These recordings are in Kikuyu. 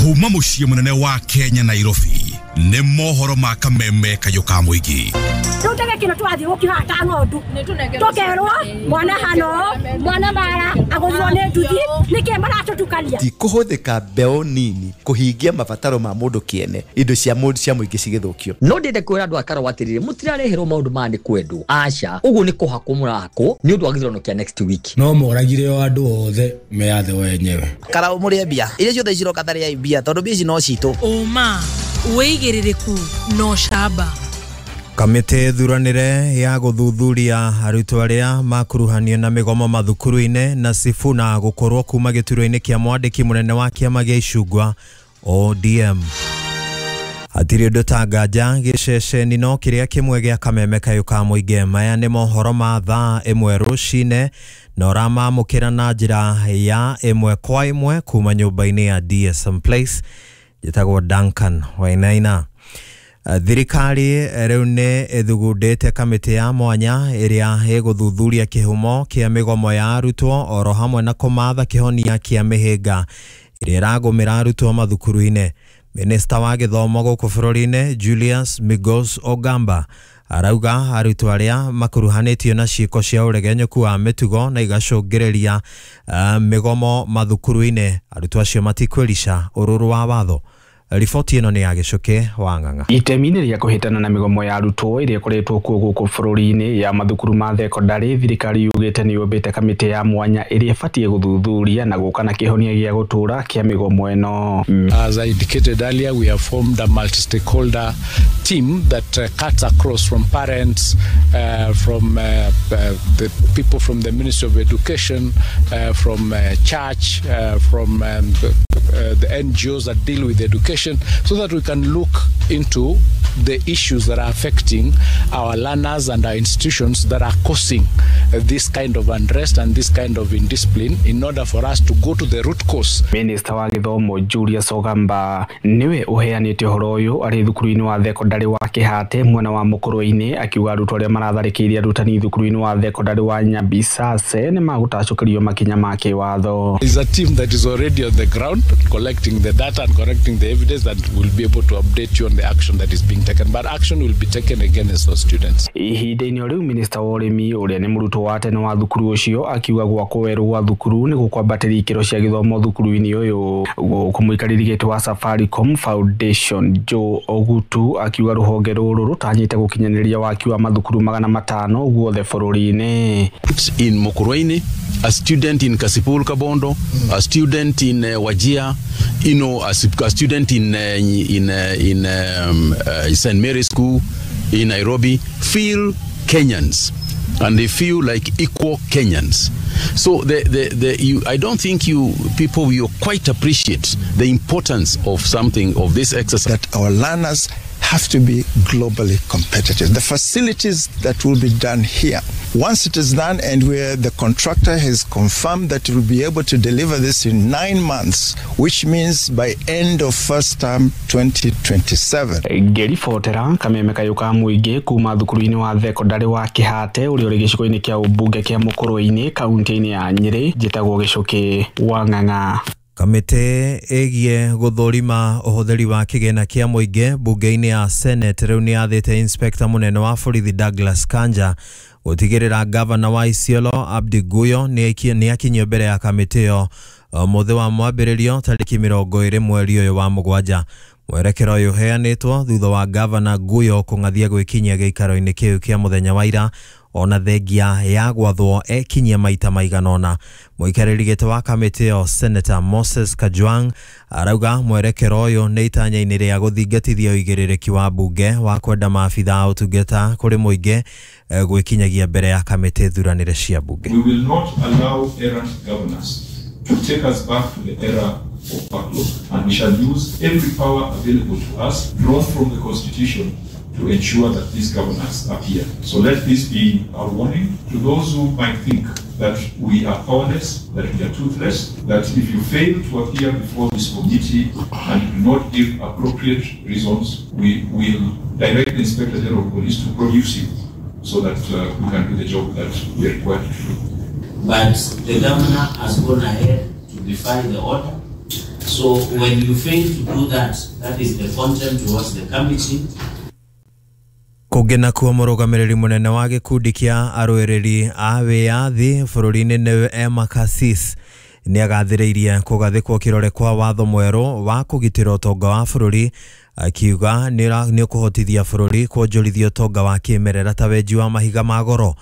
Kuma muciĩ munene wa Kenya Nairobi nĩ mohoro ma kameme kayũ ka mũingĩ. Rĩu kino twathi gũkĩhata ng'ondu tũkerwo mwana hano mwana mara agũthirwo nĩ nduthi nĩkĩ maratũtukania. Ti kũhũthĩka mbeũ nini kũhingia mabataro ma mũndũ kĩene indo cia mũndũ cia mũingĩ cigĩthũkio. No ndĩende kwĩra andũ a Karau atĩrĩrĩ, mũtirareherwo maũndũ maya nĩ kwendwo, aca, ũguo nĩ kũhakwo mũrahakwo nĩ ũndũ wa gĩthurano kĩa next week. No moragire o andũ othe meyathe wenyewe. Karau mũrĩe mbia iria ciothe ciroka tarĩai mbia tondũ mbia ici no citũ. Ũma wĩigĩrĩrĩku no camba. Kamĩtĩ thuranĩre ya gũthuthuria arutwo arĩa makuruhanio na mĩgomo mathukuru-inĩ na Sifuna gũkorwo kuma gĩturwa-inĩ kĩa mwandĩki mũnene wa kĩama gĩa Icungwa ODM. Hatirĩ ũndũ ta nganja gĩceceni no kĩrĩa kĩmwe gĩa kameme kayũ ka mũingĩ. Maya nĩ mohoro ma thaa 1 rũcinĩ na ũramamũkĩra na njĩra ya 1 kwa 1 kuma nyũmba-inĩ ya DSM Place. Njĩtagwo Duncan Wainaina. Thirikari rĩu nĩ ĩthugundĩte kamĩtĩ ya mwanya ĩrĩa ĩgũthuthuria kĩhumo kĩa mĩgomo ya arutwo oro hamwe na kũmatha kĩhonia kĩa mĩhĩnga ĩrĩa ĩragũmĩra arutwo mathukuru-inĩ. Minista wa gĩthomo gũkũ bũrũri-inĩ Julius Migos Ogamba arauga arutwo arĩa makuruhanĩtio na ciĩko cia ũregenyũku wa mĩtugo na igacũngĩrĩria mĩgomo mathukuru-inĩ arutwo acio matikwĩrica ũrũrũ wa watho. Riboti ĩno nĩ ya Gĩcũkĩ wa Ng'ang'a. Itemi-inĩ rĩa kũhĩtana na mĩgomo ya arutwo ĩrĩa ĩkoretwo kuo gũkũ bũrũri-inĩ ya mathukuru ma thekondarĩ, thirikari yugĩte nĩ yũmbĩte kamĩtĩ ya mwanya ĩrĩa ĩbatiĩ gũthuthuria na gũka na kĩhonia gĩa gũtũũra kĩa mĩgomo ĩno. As I indicated earlier, we have formed a multi-stakeholder team that cuts across from parents, from the people from the Ministry of Education, from church, from the NGOs that deal with education, so that we can look into the issues that are affecting our learners and our institutions that are causing this kind of unrest and this kind of indiscipline, in order for us to go to the root cause. Minister wa gĩthomo Julius Ogamba niwe ũheanĩte ũhoro ũyũ arĩ thukuru-inĩ wa thekondarĩ wa Kĩhate mwena wa Mũkũrwe-inĩ, akiuga arutwo arĩa maratharĩkĩire arutani thukuru-inĩ wa thekondarĩ wa Nyabisase nĩ magũtacũkĩrio makinya ma kĩwatho. Is a team that is already on the ground collecting the data and collecting the evidence that will be able to update you on the action that is being taken, but action will be taken against those students. Ihinda-inĩ rĩu Minister wa ũrĩmi ũrĩa nĩ mũrutwo wa tene wa thukuru ũcio akiuga gwakwo werũ gwa thukuru nĩ gũkwambatĩria ikĩro cia gĩthomo thukuru-inĩ ũyũ. Gũkũ mũikarĩri gĩtĩ wa Safaricom Foundation Joe Ogutu akiuga rũhonge rũrũ rũtanyĩte gũkinyanĩria waki wa mathukuru 500 guothe bũrũri-inĩ. In Mukurweini, a student in Kasipul Kabondo, a student in Wajir, you know, a student in St. Mary's School in Nairobi feel Kenyans, and they feel like equal Kenyans. So I don't think you people will quite appreciate the importance of something of this exercise. That our learners have to be globally competitive. The facilities that will be done here, once it is done and where the contractor has confirmed that it will be able to deliver this in 9 months, which means by end of first term 2027. Ngĩribotera kameme kayũ ka mũingĩ kuma thukuru-inĩ wa thekondarĩ wa Kĩhate ũrĩa ũrĩ gĩcigo-inĩ kĩa ũmbunge kĩa Mũkũrwe-inĩ kaunti-inĩ ya Nyĩrĩ, njĩtagwo Gĩcũkĩ wa Ng'ang'a. Kamĩtĩ ĩgiĩ gũthũrima ũhũthĩri wa kĩgĩna kĩa mũingĩ mbunge-inĩ ya Senate rĩu nĩ yathĩte Inspector mũnene wa borithi Douglas Kanja gũtigĩrĩra gavana wa Isiolo Abdi Guyo nĩ akinyio mbere ya kamĩtĩ ĩyo mũthĩ wa mwambĩrĩrio tarĩki 20 mweri ũyũ wa 7. Mwerekero ũyũ ũheanĩtwo thutha wa gavana Guyo kũng'athia gwĩkinyia gĩikaro-inĩ kĩu kĩa mũthenya wa ira ona thengia ya gwathwo ekinyia maita maigana ũna. Mũikarĩri gĩtĩ wa kamĩtĩ ĩyo Senator Moses Kajwang arauga mwerekero ũyũ nĩ itanya-inĩ rĩa gũthingatithia ũigĩrĩrĩki wa mbunge wa kwenda maabitha a ũtungata kũrĩ mũingĩ gwĩkinyagia mbere ya kamĩtĩ thuranĩre cia mbunge. We will not allow errant governors to take us back to the era of backlog, and we shall use every power available to us drawn from the Constitution to ensure that these governors appear. So let this be a warning to those who might think that we are powerless, that we are toothless, that if you fail to appear before this committee and do not give appropriate reasons, we will direct the Inspector General of Police to produce you so that we can do the job that we are required to do. But the governor has gone ahead to defy the order. So when you fail to do that, that is the contempt towards the committee. Kũngĩ nakuo mũrũgamĩrĩri mũnene wa gĩkundi kĩa arũĩrĩri a wĩyathi bũrũri-inĩ nĩwe Emma Cassis nĩ agathĩrĩirie kũgathĩkwo kĩrore kwa watho mwerũ wa kũgitĩra ũtonga wa bũrũri, akiuga nĩ ũkũhotithia bũrũri kuonjorithia ũtonga wa kĩmerera ta wenji wa mahiga ma goro.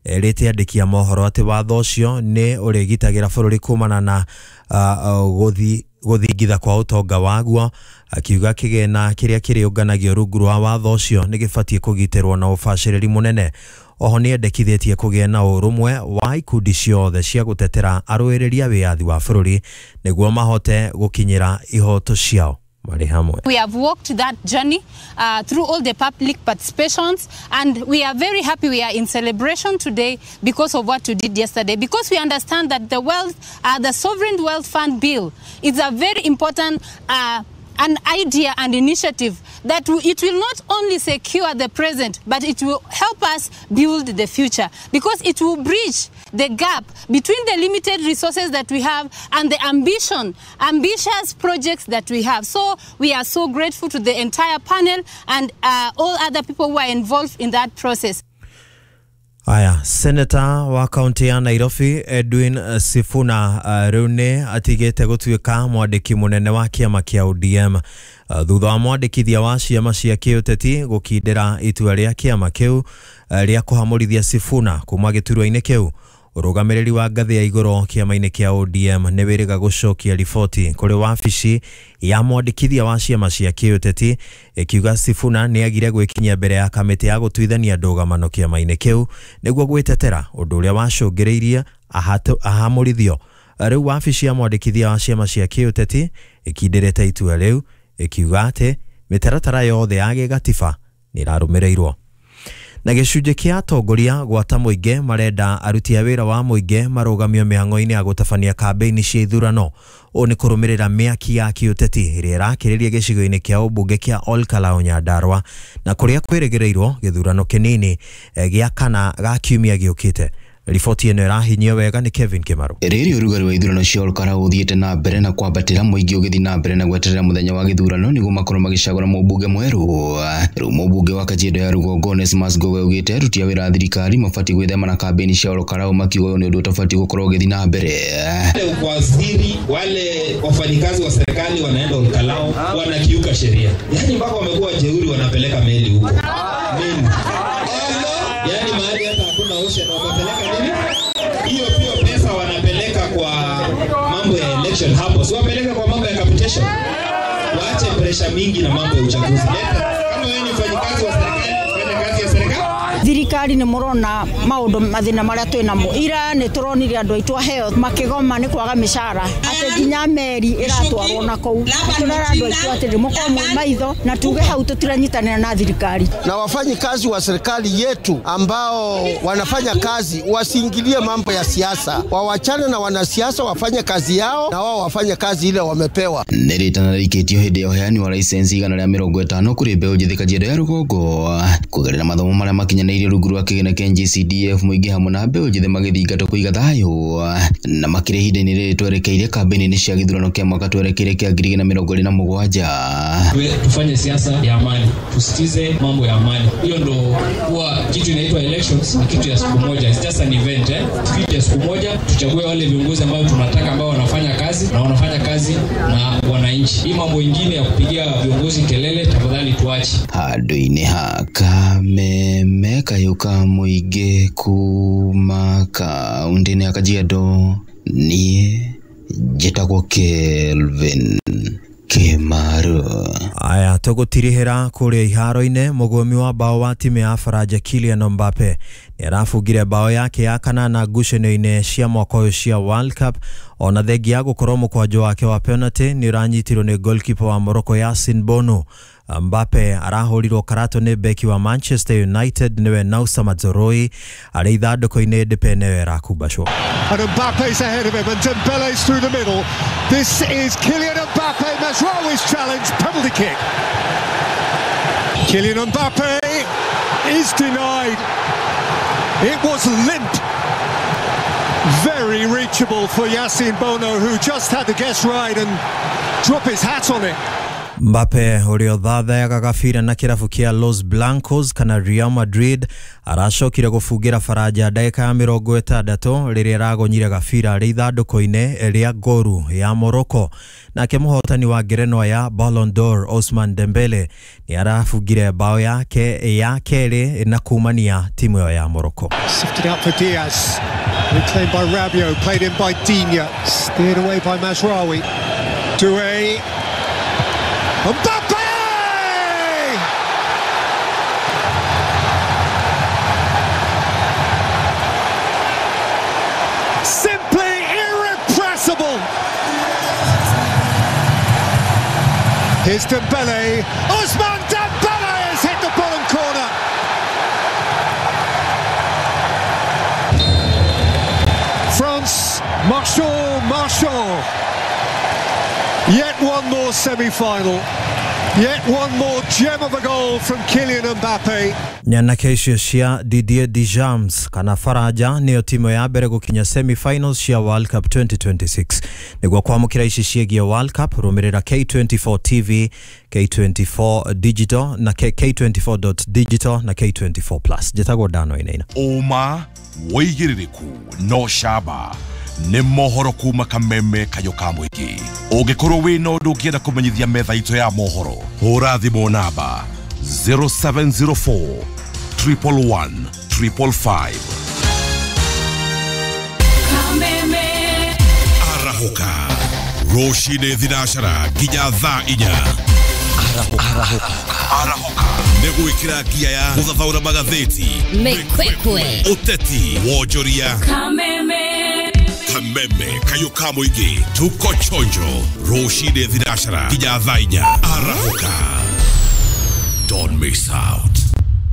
Erĩte andĩki a mohoro atĩ watho ũcio nĩ ũrĩgitagĩra bũrũri kumana na gũthingitha kwa ũtonga waguo, akiuga kĩgĩna kĩrĩa kĩrĩũnganagio rungu rwa watho ũcio nĩ gĩbatiĩ kũgitĩrwo na ũbacĩrĩri mũnene. Oho nĩ endekithĩtie kũgĩa na ũrũmwe wa ikundi ciothe cia gũtetera arũĩrĩri a wĩyathi wa bũrũri nĩguo mahote gũkinyĩra ihoto ciao marĩ hamwe. We have walked that journey through all the public participations, and we are very happy we are in celebration today because of what we did yesterday, because we understand that the wealth, the Sovereign Wealth Fund Bill is a very important an idea and initiative that it will not only secure the present, but it will help us build the future, because it will bridge the gap between the limited resources that we have and the ambitious projects that we have. So we are so grateful to the entire panel and all other people who are involved in that process. Aya, Senator wa kaunti ya Nairobi Edwin Sifuna rĩu nĩ atigĩte gũtuĩka mwandĩki mũnene wa kĩama kĩa ODM thutha wa mwandĩkithia wa ciama cia kĩũteti gũkindĩra itua rĩa kĩama kĩu rĩa kũhamũrithia Sifuna kuma gĩturwa-inĩ kĩu. Ũrũgamĩrĩri wa ngathĩ ya igũrũ kĩama-inĩ kĩa ODM nĩ wĩrĩga gũcokia riboti kũrĩ wabici ya mwandĩkithia wa ciama cia kĩũteti ĩkiuga Sifuna nĩ agire gwĩkinyia mbere ya kamĩtĩ ya gũtuithania ndũgamano kĩama-inĩ kĩu nĩguo gwĩtetera ũndũ ũrĩa wacũngĩrĩirie ahamũrithio. Rĩu wabici ya mwandĩkithia wa ciama cia kĩũteti ĩkindĩrĩte itua rĩu ĩkiuga atĩ mĩtaratara yothe ya gĩgatiba nĩ ĩrarũmĩrĩirwo. Na gĩcunjĩ kĩa atongoria gwata mũingĩ marenda aruti a wĩra wa mũingĩ marũgamio mĩhang'o-inĩ ya gũtabania kambĩini cia ithurano. Ũũ nĩ kũrũmĩrĩra mĩaki ya kĩũteti ĩrĩa ĩrakĩrĩria gĩcigo-inĩ kĩa ũmbunge kĩa Olkalau Nyandarua na kũrĩa kwĩrĩgĩrĩirwo gĩthurano kĩnini gĩa kana ga kiumia gĩũkĩte. Riboti ĩno ĩrahinyio wega nĩ Kevin Kimaru. Rĩrĩ ũrugarĩ wa ithurano cia Olkalau ũthiĩte na mbere na kwambatĩra, mũingĩ ũgĩthiĩ na mbere na gweterera mũthenya wa gĩthurano nĩguo makorwo magĩcagũra mũmbunge mwerũ. Rĩu mũmbunge wa Kajiado ya Rũgongo Onesmus Ngowe augĩte aruti a wĩra a thirikari mabatiĩ gwĩthema na kambĩini cia Olkalau makiuga ũyũ nĩ ũndũ ũtabatiĩ gũkorwo ũgĩthiĩ na mbere. Waziri wale wafanyikazi wa serikali wanaenda Olkalau wanakiuka sheria, yaani mpaka wamekuwa jeuri, wanapeleka meli huko meli, yaani mahali hata hakuna ocean wamepeleka nini hiyo. Pia pesa wanapeleka kwa mambo ya election hapo, si wapeleka kwa mambo ya capitation. Waache pressure mingi na mambo ya uchaguzi. Kama wewe ni mfanyikazi wa serikali, fanya kazi ya serikali. Thirikari nĩ mũrona maũndũ mathĩna marĩa twĩ namo. Ira nĩ tũronire andũ aitũ a health makĩgoma nĩ kwaga mĩcara, atĩ nginya meri ĩratwarwo na kũu. Tũrera andũ aitũ atĩrĩ mũkorwo mwĩ maitho na tuge hau tũtiranyitanĩra na thirikari. Na wafanyikazi wa serikali yetu ambao wanafanya kazi wasiingilie mambo ya siasa, wawachane na wanasiasa, wafanye kazi yao na wao wafanye kazi ile wamepewa. Nĩ rĩtana rĩikĩtio hĩndĩ ya ũheani wa license 150 kũrĩ mbeũ njĩthĩ Kajiado ya Rũgongo kũgerera mathomo marĩa makinyanĩirie rungu rwa kĩgĩna kĩa NGCDF mũingĩ hamwe na mbeũ njĩthĩ magĩthingatwo kũiga thayũ na makĩria ihinda-inĩ rĩrĩ twerekeire kambĩini cia gĩthurano kĩa mwaka twerekeire kĩa 2027. Tufanye siasa ya amani, tusitize mambo ya amani. Hiyo ndo huwa kitu inaitwa elections, ni kitu ya siku moja, it's just an event Kitu ya siku moja, tuchague wale viongozi ambao tunataka, ambao wanafanya kazi na wanafanya kazi na wananchi. Hii mambo ingine ya kupigia viongozi kelele tafadhali tuache. Handũ-inĩ ha kameme kayũ ka mũingĩ kuma kaũntĩ-inĩ ya Kajiado, niĩ njĩtagwo Kelvin Kimaru. Aya, tũgũtirihĩra kũrĩa iharo-inĩ. Mũgũmi wa bao wa timu ya Faranja Kylian Mbappe nĩ arabungire bao yake ya kanana ngucanio-inĩ cia mwaka ũyũ cia World Cup, ona thengia ya gũkorwo mũkwanjo wake wa penalty nĩ ũranyitirwo nĩ goalkeeper wa Morocco Yasin Bono. Mbappe arahũrirwo karato nĩ beki wa Manchester United nĩwe Nausa Mazraoui arĩ ithandũkũ-inĩ Depay nĩwe ĩrakumbacwo. And Mbappe's ahead of him and Dembele's through the middle. This is Kylian Mbappe. Mazraoui's challenge, penalty kick. Kylian Mbappe is denied. It was limp. Very reachable for Yasin Bono, who just had the guess right and Drop his hat on it. Mbappe ũrĩa ũthathayaga gabira na kĩrabu kĩa Los Blancos kana Real Madrid aracokire gũbungĩra Faranja ndagĩka ya 60 rĩrĩa aragonyire gabira rĩ ithandũkũ-inĩ rĩa ngoru ya Morocco. Nake mũhotani wa ngerenwa ya Ballon d'Or Ousmane Dembele nĩ arabungire bao yake ya kerĩ na kumania timu ĩyo ya Morocco. Sifted out for Diaz, reclaimed by Rabiot, played in by Digne, steered away by Mazraoui. Doué. Mbappe! Simply irrepressible. Here's Dembele. Ousmane Dembele has hit the bottom corner. France, Marchand, Marchand. Yet one more semi-final. Yet one more gem of a goal from Kylian Mbappe. Nyanake icio cia Didier Deschamps kana Faranja nĩyo timu ya mbere gũkinya semi-finals cia World Cup 2026. Nĩguo kwamũkĩra ici ciĩgiĩ World Cup rũmĩrĩra K24 TV, K24 Digital na K24.digital na K24 Plus. Njĩtagwo Dano Inaina. Ũma wĩigĩrĩrĩku no camba nĩ mohoro kuma kameme kayo ka mũingĩ. Ũngĩkorwo wĩna ũndũ ũngĩenda kũmenyithia metha itũ ya mohoro, hũra thimũ namba 0704 111 555. Kameme. Arahũka rũcinĩ thinacara nginya thaa 4. Arahũka nĩ gwĩkĩra ngia ya gũthathaũra magathĩti, Mĩkwekwe, ũteti, wonjoria. Kameme. Kameme kayo ka mũingĩ, tuko chonjo rũcinĩ thinacara nginya thaa 4. Arahũka, don't miss out.